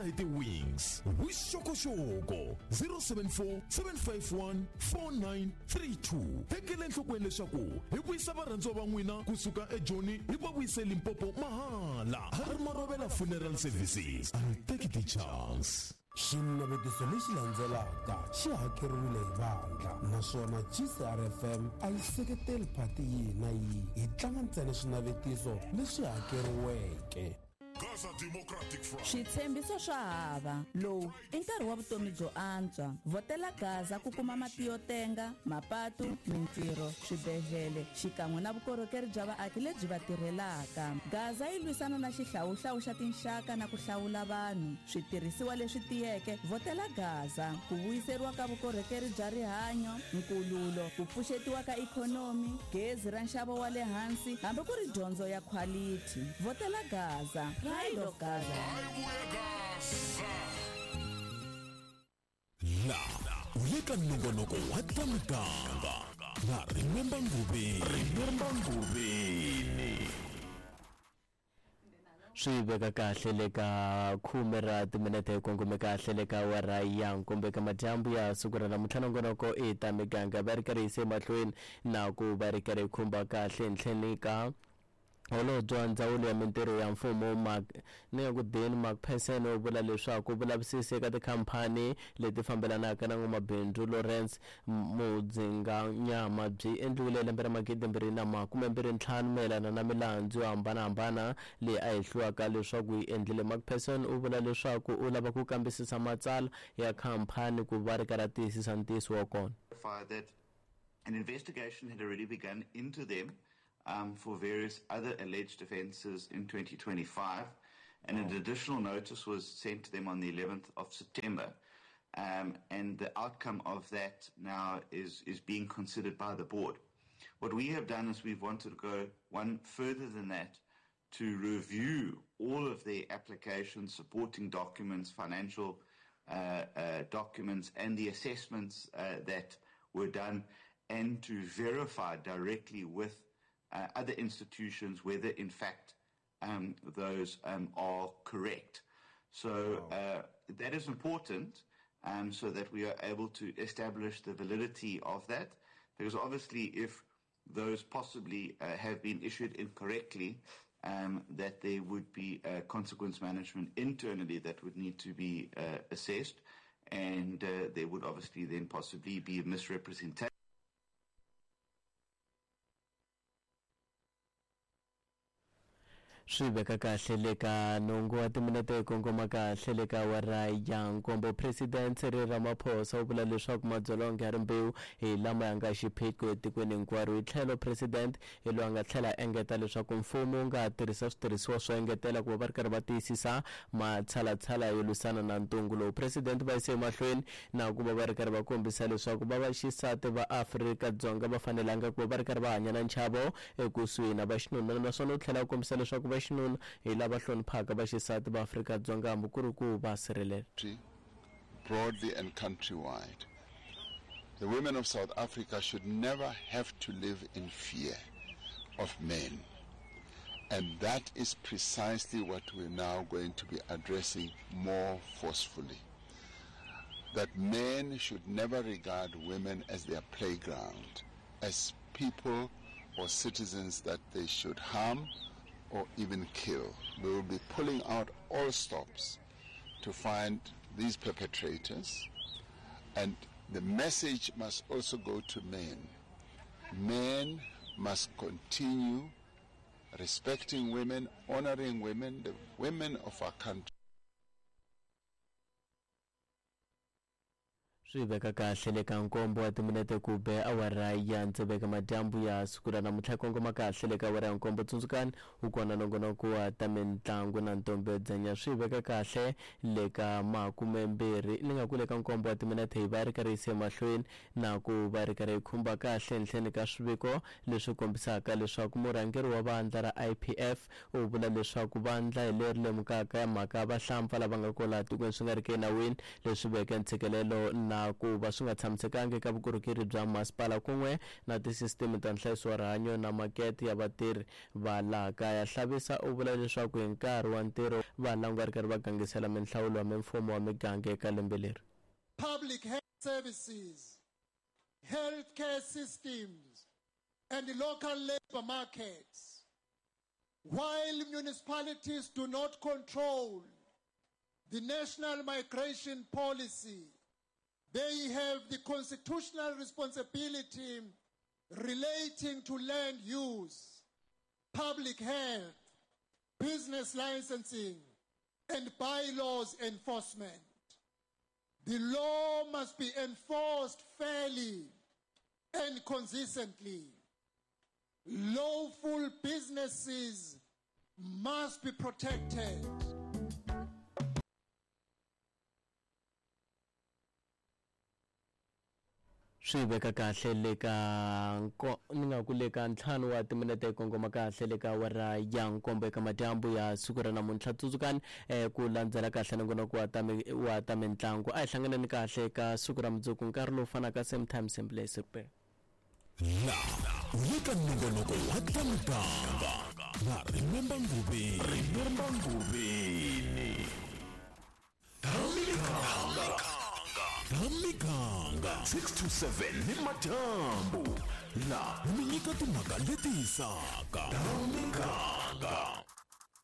vulavula hi ti-wings. Vuxokoxoko 074 751 4932. Tekela enhlokweni leswaku hi vuyisa varhandziwa va n'wina kusuka eJoni hi va vuyise Limpopo mahala. Harry Marovela Funeral Services. I'll take the chance. Xinavetiso lexi landzelaka xi hakeriwile hi vandla naswona GCRFM a yi seketeli phati yihi na yihi hi tlanga ntsena swinavetiso leswi hakeriweke. Gaza Democratic Front. Switshembiso swa hava. Lowu i nkarhi wa vutomi byo antswa. Vhotela Gaza ku kuma mati yo tenga, mapatu, mintirho, swibedhlele xikan'we na vukorhokeri bya vaaki lebyi va tirhelaka. Gaza yi lwisana na xihlawuhlawu xa tinxaka na ku hlawula vanhu. Switirhisiwa leswi tiyeke, vhotela Gaza. Ku vuyiseriwa ka vukorhokeri bya rihanyo, nkululo, ku pfuxetiwa ka ikhonomi, gezi ra nxavo wa le hansi hambi ku ri dyondzo ya khwalithi. Vhotela Gaza. Pride of Gaza. La u le ka nongonoko wa ta muganga na Remember Nguveni. Remember Nguveni. Swi veka kahle le ka khume ra timinete hi kongome kahle le ka awara ya nkombo eka madyambu ya siku ra namuntlha. Nongonoko i ta miganga va ri karhi yise emahlweni na ku va ri karhi khumba kahle ntlheni ka holobye wa ndzawulo ya mintirho ya mfumo Mark ni nga ku Dean Macpherson u vula leswaku vulavisisi eka tikhampani leti fambelanaka na n'wamabindzu Lawrence Mudzinganyama byi endliwile lembe ra 2025 mayelana na milandzu yo hambanahambana leyi a hehliwaka leswaku yi endlile. Macpherson u vula leswaku u lava ku kambisisa matsalwa ya khampani ku va ri karhi a tiyisisa ntiyiso wa kona. That an investigation had already begun into them for various other alleged offences in 2025, and an additional notice was sent to them on the 11th of September. And the outcome of that now is being considered by the board. What we have done is we've wanted to go one further than that to review all of the applications, supporting documents, financial documents, and the assessments that were done, and to verify directly with other institutions whether, in fact, those are correct. So that is important, so that we are able to establish the validity of that, because obviously if those possibly have been issued incorrectly, that there would be consequence management internally that would need to be assessed, and there would obviously then possibly be misrepresentation. Swi veka kahle le ka nhungu wa timinete hi kongoma kahle le ka awara ya nkombo. President Cyril Ramaphosa u vula leswaku madzolonga ya rimbewu hi lama ya nga xiphiqo etikweni hinkwaro. Hi tlhelo president hi loyi a nga tlhela a engeta leswaku mfumo wu nga tirhisa switirhisiwa swo engetela ku va va ri karhi va tiyisisa matshalatshala yo lwisana na ntungu lowu. President va yise emahlweni na ku va va ri karhi va kombisa leswaku va vaxisati va Afrika-Dzonga va fanelanga ku va va ri karhi va hanya na nchavo ekusuhi na vaxinuna, naswona u tlhela a kombisa leswaku vaxinuna hi lava hloniphaka vaxisati va Afrika-Dzonga hambi ku ri ku va sirhelela. Broadly and countrywide, the women of South Africa should never have to live in fear of men. And that is precisely what we're now going to be addressing more forcefully. That men should never regard women as their playground, as people or citizens that they should harm or even kill. We will be pulling out all stops to find these perpetrators. And the message must also go to men. Men must continue respecting women, honoring women, the women of our country. Swi veka kahle le ka nkombo wa timinete ku be awara ya ntseveka madyambu ya siku ra namuntlha kongoma kahle le ka awara ya nkombo. Tsundzukani wu kona nongonoko wa ta mitlangu na ntombi yo dzenya. Swi veka kahle le ka makumembirhi ni nga ku le ka nkombo wa timinete hi va ri karhi yise emahlweni na ku va ri karhi hi khumba kahle nhleni ka swiviko leswi kombisaka leswaku murhangeri wa vandla ra IPF u vula leswaku vandla hi leri lemukaka ya mhaka ya vahlampfa lava nga kwala tikweni swi nga ri ki enawini leswi veke ntshikelelo na Na ku va swi nga tshamisekanga eka vukorhokeri bya masipala kun'we na tisisiteme ta nhlayiso wa rihanyo na makete ya vatirhi va laha kaya. Hlabisa u vula leswaku hi nkarhi wa ntirho va langu va ri karhi va gangisela minhlawulo ya mimfumo wa miganga eka lembe leri. Public health services, healthcare systems, and local labor markets. While municipalities do not control the national migration policy, they have the constitutional responsibility relating to land use, public health, business licensing, and bylaws enforcement. The law must be enforced fairly and consistently. Lawful businesses must be protected. Swi veka kahle le ka ni nga ku le ka ntlhanu wa timinete yi kongoma kahle le ka awara ya nkombo eka madyambu ya siku ra namuntlha. Tsundzukani ku landzela kahle nongonoko wa ta wa ta mitlangu. A hi hlanganeni kahle eka siku ra mundzuku nkarhi lowu fanaka, same time, same place. Laha u le ka nongonoko wa ta muganga na Remember Nguveni. Remember Nguveni. Ta miganga. Ta miganga 6 to 7 ni madyambu. Laha mi nyika timhaka leti hisaka. Ta miganga.